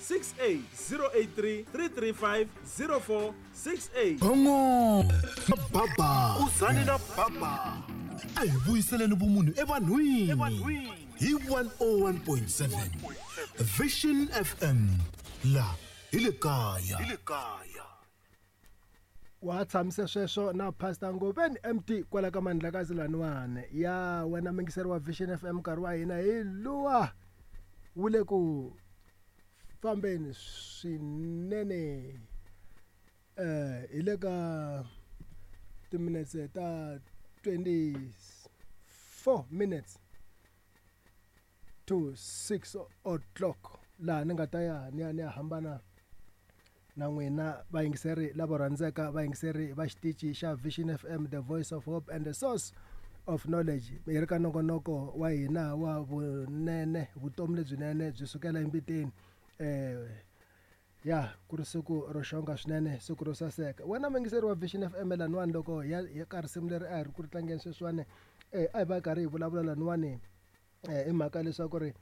68 083 335 0468. Bongo Baba Uzani na Baba a hi vuyiseleni vumunhu evanhwini hi 101.7 Vision FM la hi le kaya. Wa tshamise sweswo na Pastor Ngobeni MT kwala ka Mandlakazi laniwani ya wena mingiseri wa Vision FM nkarhi wa hina hi luwa wu le ku fambeni swinene hi le ka timinetse ta 24 minutes to 6 o'clock laha ni nga ta ya ni ya ni ya hambana na n'wina vayingiseri lavo rhandzeka vayingiseri va xitichi xa Vision FM the voice of hope and the source of knowledge hi ri ka nongonoko wa hina wa vunene vutomi lebyinene byi sukela embiteni ya ku ri siku ro xonga swinene siku ro saseka wena muyingiseri wa Vision FM laniwani loko hi ya ka risimu leri a hi ri ku ri tlangeni sweswiwani a hi va karhi hi vulavula laniwani hi mhaka leswaku ri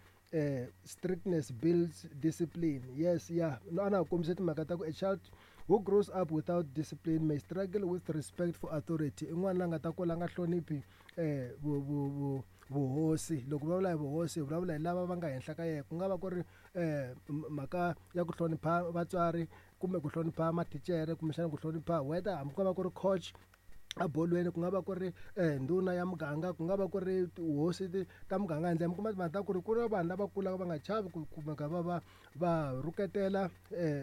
strictness builds discipline. Yes, yeah. No, ana kombisa timhaka ta ku a child who grows up without discipline may struggle with respect for authority. I n'wana la nga ta kula a nga hloniphi vuhosi. Loko vulavula hi vuhosi, vulavula hi lava va nga henhla ka yena. Ku nga va ku ri mhaka ya ku hlonipha vatswari kumbe ku hlonipha mathinchere kumbexana ku hlonipha whether hambi ku nga va ku ri coach a bolweni, ku nga va ku ri ndhuna ya muganga, ku nga va ku ri tihosi ta muganga. Handle mi kuma timhaka ta ku ri ku ri vanhu lava kulaka va nga chavi ku kumeka va va va rhuketela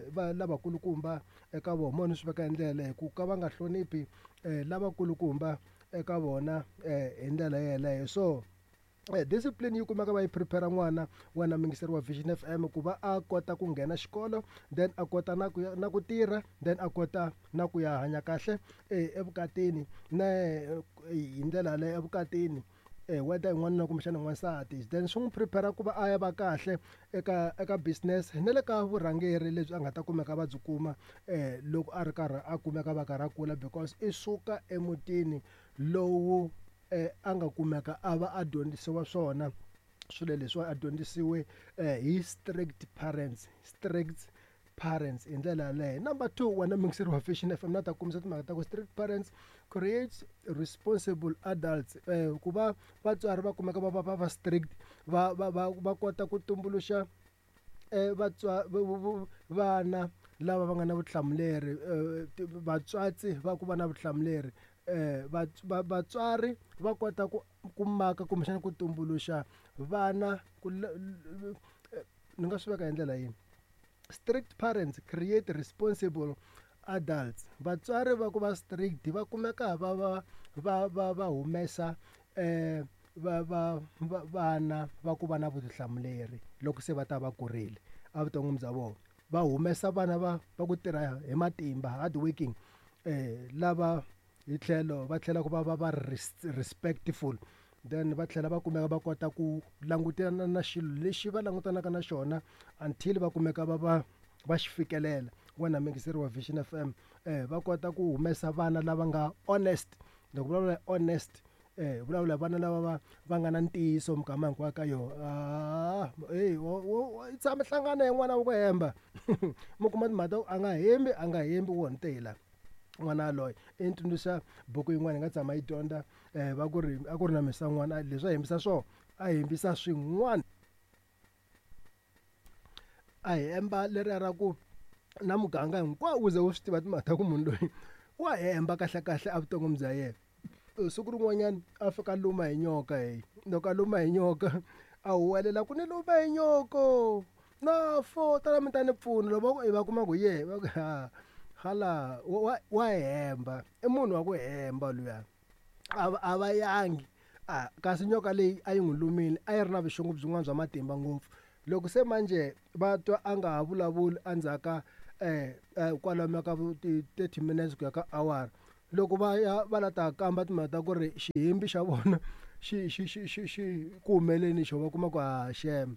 va lavakulukumba eka vona. Mo ni swi veka hi ndlela yaleyo ku ka va nga hloniphi lavakulukumba eka vona hi ndlela yeleyo. So discipline yi kumeka va yi prepare n'wana wena muyingiseri wa Vision FM ku va a kota ku nghena xikolo, then a kota na ku ya na ku tirha, then a kota na ku ya hanya kahle evukatini na hi ndlela yaleyo evukatini whether i n'wanuna kumbexana n'wansati, then swi n'wi prepare ku va a ya va kahle eka eka business na le ka vurhangeri lebyi a nga ta kumeka va byi kuma loko a ri karhi a kumeka va karhi a kula, because i suka emutini lowu a nga kumeka a va a dyondzisiwa swona swilo leswiwa, a dyondzisiwe hi strict parents, strict parents hi ndlela yaleyo. Number 2, wena muyingiseri wa Vision FM na ta kombisa timhaka ta ku strict parents creates responsible adults. Ku va vatswari va kumeka va va va strict, va va va va kota ku tumbuluxa vana lava va nga na vutihlamuleri, vatswatsi va ku va na vutihlamuleri. Vatswari va kota ku maka kumbexana ku tumbuluxa vana ku ni nga swi veka hi ndlela yini? Strict parents create responsible adults. Vatswari va ku va strict va kumeka va va va va va humesa va va vana va ku va na vutihlamuleri loko se va ta va kurile evuton'wini bya vona. Va humesa vana va va ku tirha hi matimba, hard working, lava hi tlhelo va tlhela ku va va va respectful, then va tlhela va kumeka va kota ku langutana na xilo lexi va langutanaka na xona until va kumeka va va va xi fikelela. Wena muyingiseri wa Vision FM, va kota ku humesa vana lava nga honest. Loko vulavula hi honest, vulavula hi vana lava va va nga na ntiyiso mikama hinkwayo ka yona. I tshama hlangana hi n'wana wa ku hemba mi kuma timhaka ta ku a nga hembi, a nga hembi wo ntela n'wana yaloye. I ni tsundzuxa buku yin'wana hi nga tshama yi dyondza, va ku ri a ku ri na misa n'wana leswi a hembisa swona, a hembisa swin'wana, a hemba leriya ra ku na muganga hinkwawo wu ze wu swi tiva timhaka ta ku munhu loyi wa hemba kahle kahle evuton'wini bya yena. Siku rin'wanyana a fika a luma hi nyoka, heyi loko a luma hi nyoka a huwelela ku ni luma hi nyoko na fo tala mi ta ni pfuna. Loko va ku va kuma ku hi yehe va ku ha hala wa hemba, i munhu wa ku hemba luya, a va yangi. Kasi nyoka leyi a yi n'wi lumile a yi ri na vuxungu byin'wana bya matimba ngopfu. Loko se manje va twa a nga ha vulavuli endzhaku ka kwalomu ka ti 30 minutes ku ya ka awara, loko va ya va la ta kamba timhaka ta ku ri xihimbi xa vona xi xi xi xi xi ku humeleni xo va kuma ku ha xem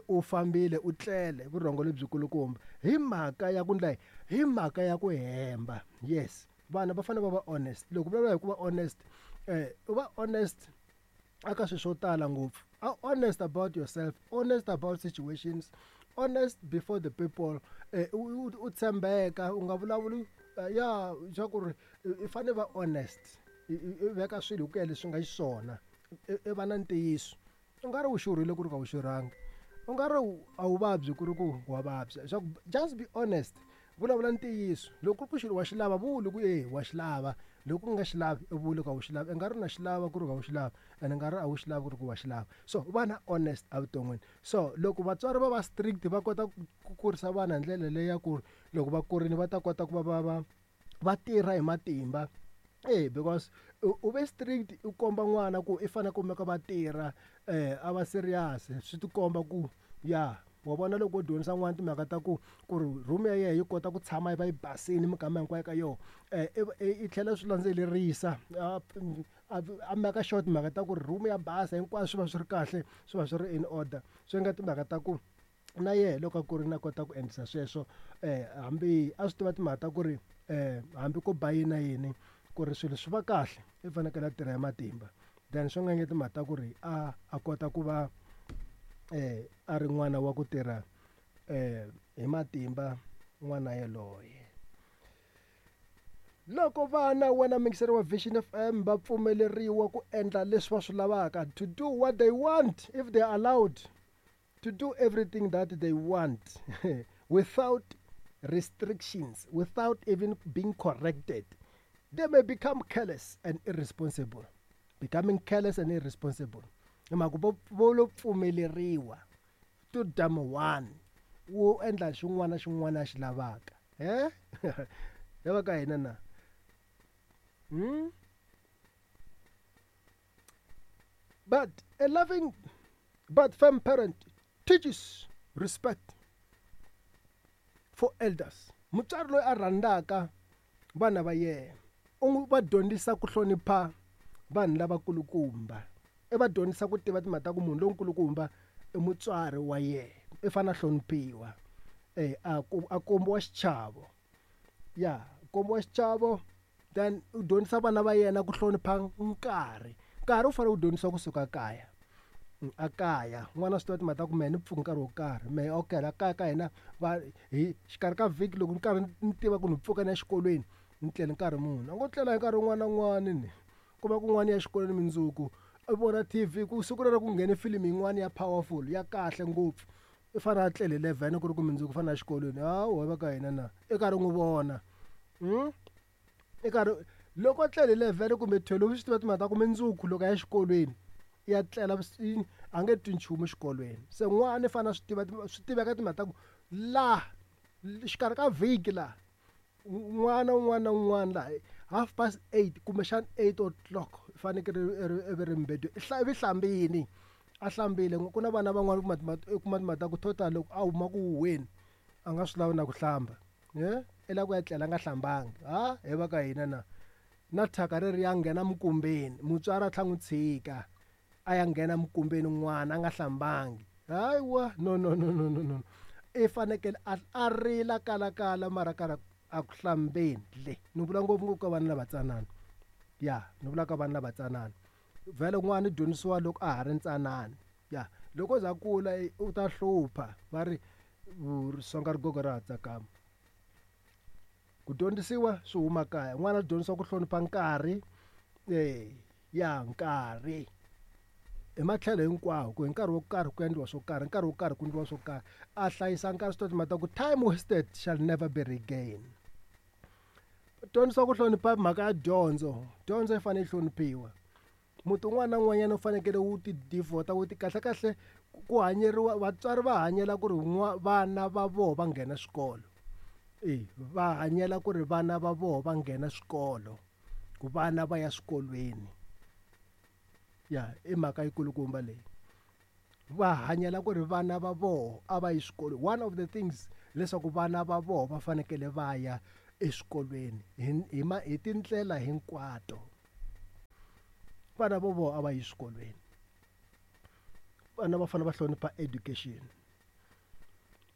u fambile u tlele vurhongo lebyikulukumba hi mhaka ya ku ndla hi mhaka ya ku hemba. Yes, vana va fanele va va honest. Loko vulavula hi ku va honest, u va honest aka swilo swo tala ngopfu. Honest about yourself, honest about situations, honest before the people. U tshembeka, u nga vulavuli ya swa ku ri i fanele va honest, i veka swilo hi ku ya leswi nga xiswona, i va na ntiyiso. U nga ri u xurhile ku ri ka u xurhangi, u nga ri a wu vabyi ku ri ku wa vabya. Swa ku just be honest, vulavula ntiyiso. Loko ku ri ku xilo wa xi lava, vuli ku e wa xi lava. Loko u nga xi lavi, i vuli ku a wu xi lavi. I nga ri na xi lava ku ri ku a wu xi lavi, and i nga ri a wu xi lavi ku ri ku wa xi lava. So va na honest evuton'wini. So loko vatswari va va strict, va kota ku kurisa vana hi ndlela leyi ya ku loko va kurile va ta kota ku va tirha hi matimba. Because u ve strict, u komba n'wana ku i fanele kumeka va tirha, a va serious. Swi ti komba ku ya wa vona loko u dyondzisa n'wana timhaka ta ku ri room ya yena yi kota ku tshama yi va yi basile minkama hinkwayo ka yona, i tlhela swi landzelerisa, a maka sure timhaka ta ku ri room ya basa hinkwaswo swi va swi ri kahle, swi va swi ri in order. Swi nga timhaka ta ku na yena loko a kurile a kota ku endlisa sweswo, hambi a swi tiva timhaka ta ku ri hambi ko ba yini na yini ku ri swilo swi va kahle, i fanekele a tirha hi matimba. Then swi nga nge timhaka ta ku ri a kota ku va a ri n'wana wa ku tirha hi matimba n'wana yaloye. Loko vana wena mixer wa Vision FM va pfumeleriwa ku endla leswi va swi lavaka, to do what they want if they are allowed to do everything that they want without restrictions, without even being corrected, they may become careless and irresponsible. Becoming careless and irresponsible. Hi mhaka vo lo pfumeleriwa to dam one wo endla xin'wana na xin'wana a xi lavaka. Ya va ka hina na? But a loving but firm parent teaches respect for elders. Mutswari loyi a rhandzaka vana va yena u n'wi va dyondzisa ku hlonipha vanhu lavakulukumba, i va dyondzisa ku tiva timhaka ta ku munhu lonkulukumba i mutswari wa yena, i fanele a hloniphiwa, a kombiwa xichavo. Ya kombiwa xichavo, then u dyondzisa vana va yena ku hlonipha nkarhi. Nkarhi wu fanele wu dyondzisiwa kusuka kaya. A kaya n'wana swi tiva timhaka ta ku mehe ni pfuka nkarhi wo karhi, mehe okay la kaya ka hina va hi xikarhi ka vhiki loko ni karhi ni tiva ku ni pfuka ni ya xikolweni ni tlele nkarhi muni. A ngo tlela hi nkarhi wun'wana na wun'wana ni ku va kun'wana ya xikolweni mundzuku i vona TV ku siku rero ku nghene filimi yin'wana ya powerful ya kahle ngopfu, i fanele a tlele 11 ku ri ku mundzuku u fanele a xikolweni. Hawu va ka hina na i karhi n'wi vona. I karhi loko a tlele 11 kumbe 12 swi tiva timhaka ta ku mundzuku loko a ya xikolweni ya tlela a nge twi nchumu xikolweni. Se n'wana i fanele a swi tiva swi tiveka timhaka ta ku laha xikarhi ka vhiki laha n'wana un'wana na un'wana laha 8:30 kumbexana 8 o'clock i fanekele i ri mbedweni, i hlambini, a hlambile. Ku na vana van'wana u kuma timhaka ta ku total loko a huma ku huhweni a nga swi lavi na ku hlamba, i lava ku ya tlela a nga hlambangi. Ha hi va ka hina na na thyaka reri ya nghena minkumbeni, mutswari a tlhela n'wi tshika a ya nghena minkumbeni n'wana a nga hlambangi. Hayiwa no no no no no no, i fanekele a rila kalakala mara karhi a ku hlambeni le. Ni vula ngopfungopfu ka vana lavatsanana, ya ni vula ka vana lavatsanana. Vhele n'wana i dyondzisiwa loko a ha ri ntsanana, ya loko o za kula u ta hlupha, va ri songa rigogo ra ha tsakama. Ku dyondzisiwa swi huma kaya, n'wana a dyondzisiwa ku hlonipha nkarhi, ya nkarhi hi matlhelo hinkwawo, ku hi nkarhi wo karhi ku endliwa swo karhi, nkarhi wo karhi ku endliwa swo karhi, a hlayisa nkarhi. Swi tiva timhaka ta ku time wasted shall never be regained. Dyondzisiwa ku hlonipha mhaka ya dyondzo, dyondzo yi fanele yi hloniphiwa. Muti wun'wana na wun'wanyana wu fanekele wu ti devote, wu ti kahle kahle ku hanyeriwa, vatswari va hanyela ku ri vana va vona va nghena swikolo. Va hanyela ku ri vana va vona va nghena swikolo, ku vana va ya swikolweni. Ya i mhaka yikulukumba leyi. Va hanyela ku ri vana va vona a va yi swikolweni. One of the things leswaku vana va vona va fanekele va ya eswikolweni hi tindlela hinkwato. Vana vo vona a va yi swikolweni. Vana va fanele va hlonipha education.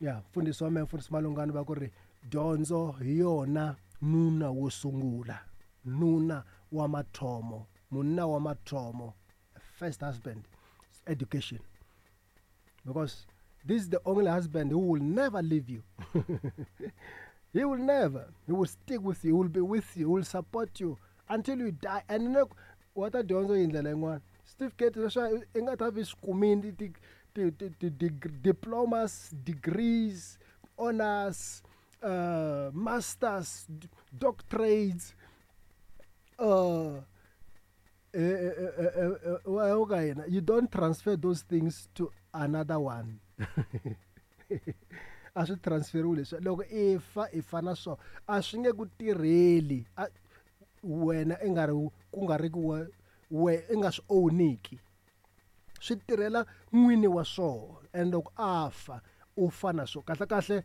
Ya mfundhisi wa mehe, mfundhisi Malungani, va ku ri dyondzo hi yona nuna wo sungula, nuna wa mathomo, munna wa mathomo, first husband. education, because this is the only husband who will never leave you. He will never. He will stick with you. He will be with you. He will support you until you die. And look, what a dyondzo yi ndlela yin'wana. Certificate leswi i nga ta vi swi kumini diplomas, degrees, honors, masters, doctorates, you don't transfer those things to another one. A swi transferiwi leswi. Loko i fa i fa na swona, a swi nge ku tirheli wena i nga ri ku nga ri ku we i nga swi owniki. Swi tirhela n'wini wa swona, and loko a fa u fa na swona. Kahle kahle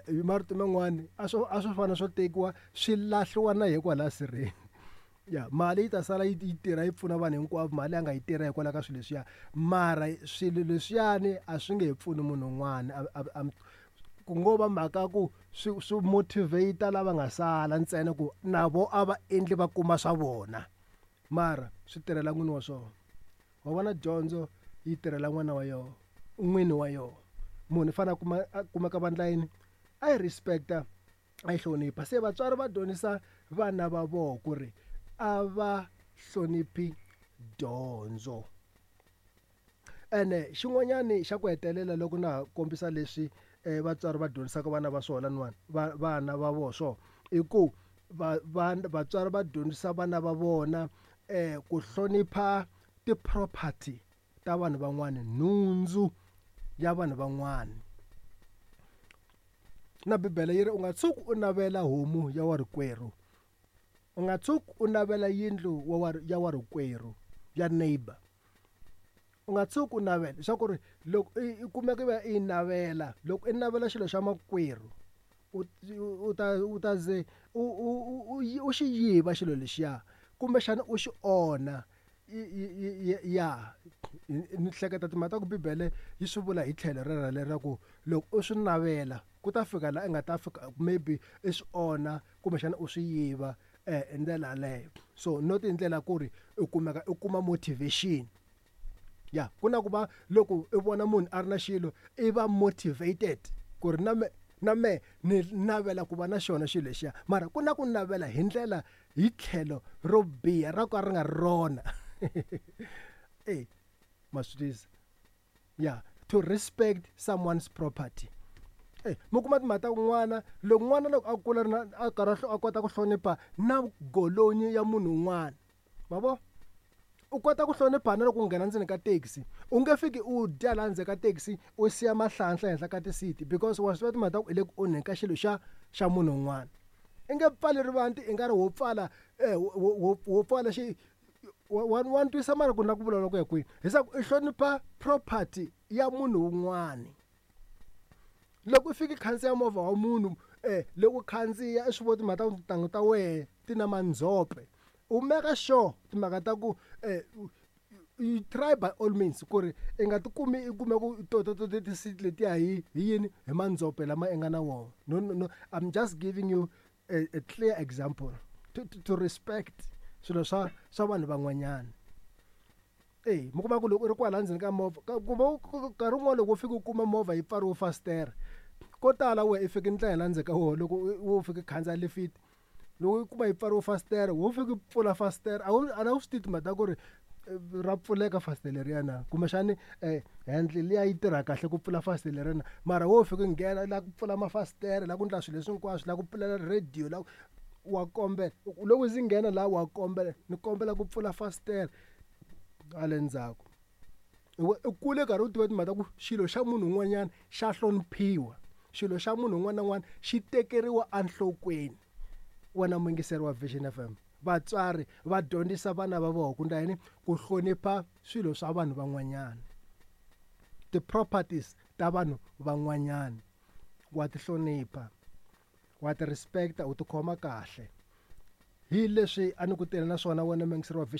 hi marito man'wani a swi fana swo tekiwa swi lahliwa na hikwalaha sirheni. Ya mali yi ta sala yi tirha yi pfuna vanhu hinkwavo, mali a nga yi tirha hikwalaho ka swilo leswiya, mara swilo leswiyani a swi nge he pfuni munhu un'wana. Ku ngo va mhaka ku swi motivate lava nga sala ntsena ku na vo a va endli va kuma swa vona, mara swi tirhela n'wini wa swona. Wa vona dyondzo yi tirhela n'wana wa yona, n'wini wa yona. Munhu i fanele a kumeka vandla yini, a yi respecta, a yi hlonipha. Se vatswari va dyondzisa vana va vona ku ri a va hloniphi dyondzo. Ene xin'wanyani xa ku hetelela loko na kombisa leswi vatswari va dyondzisaka vana va swona laniwani, vana va vona swona, i ku vatswari va dyondzisa vana va vona ku hlonipha ti-property ta vanhu van'wana, nhundzu ya vanhu van'wana. Na Bibele yi ri u nga tshuki u navela homu ya warikwerhu, u nga tshuki u navela yindlu ya warikwerhu, ya neighbor. U nga tshuki u navela, leswaku ri loko i kumeka i va i navela, loko i navela xilo xa makwerhu, u ta ze u xi yiva xilo lexiya, kumbexana u xi onha. Ya ni hleketa timhaka ta ku Bibele yi swi vula hi tlhelo rero leraku loko u swi navela ku ta fika laha i nga ta fika maybe i swi onha kumbexana u swi yiva hi ndlela yaleyo. So not hi ndlela ku ri u kumeka u kuma motivation. Ya ku na ku va loko i vona munhu a ri na xilo i va motivated ku ri na me ni navela ku va na xona xilo lexiya, mara ku na ku navela hi ndlela hi tlhelo ro biha ra ka ri nga rona. Ma swi twisisa? Ya, to respect someone's property. Mi kuma timhaka ta kun'wana loko n'wana loko a kula na a karhi a kota ku hlonipha na golonyi ya munhu un'wana, ma vo u kota ku hlonipha na loko u nghena ndzeni ka taxi. U nge fiki u dya laha ndzeni ka taxi u siya mahlanhla ehenhla ka ti-seat, because wa swi tiva timhaka ta ku i le ku onheni ka xilo xa munhu un'wana. I nge pfali rivanti i nga ri wo pfala wo pfala xi wa twisa mara ku na ku vulavula ku ya kwihi, leswaku i hlonipha property ya munhu un'wana. Loko u fika khandziya movha wa munhu loko khandziya i swi vona timhaka ta ku tintangu ta wehe ti na mandzhope, u make sure timhaka ta ku you try by all means ku ri i nga tikumi i kume ku to ti-seat letiya hi yini, hi mandzhope lama i nga na wona. No, no, no, I'm just giving you a clear example to respect swilo swa vanhu van'wanyana. Mi kuma ku loko u ri kwala ndzeni ka movha, kumbe nkarhi wun'wani loko u fika u kuma movha yi pfariwe fasitere, ko tala wena i fika ndlela la ndzeni ka wona loko wo fika khandziya lifiti, loko u kuma yi pfariwe fasitere, wo fika pfula fasitere, a wu swi tivi timhaka ta ku ri ra pfuleka fasitere leriya na, kumbexani handle liya yi tirha kahle ku pfula fasitere leriya na, mara wo fika nghena la ku pfula mafasitere, la ku endla swilo leswi hinkwaswo, la ku pfulela radio, la wa kombela loko ndzi nghena la wa kombela ni kombela ku pfula fasitere hale ndzhaku. U kule karhi u tiva timhaka ta ku xilo xa munhu un'wanyana xa hloniphiwa, xilo xa munhu un'wana na un'wana xi tekeriwa enhlokweni. Wena muyingiseri wa Vision FM, vatswari va dyondzisa vana va vona ku ndla yini, ku hlonipha swilo swa vanhu van'wanyana, ti-properties ta vanhu van'wanyana. Wa ti hlonipha, wa ti respecta, u ti khoma kahle. Hi leswi a ni ku tirha na swona wena muyingiseri wa Vision.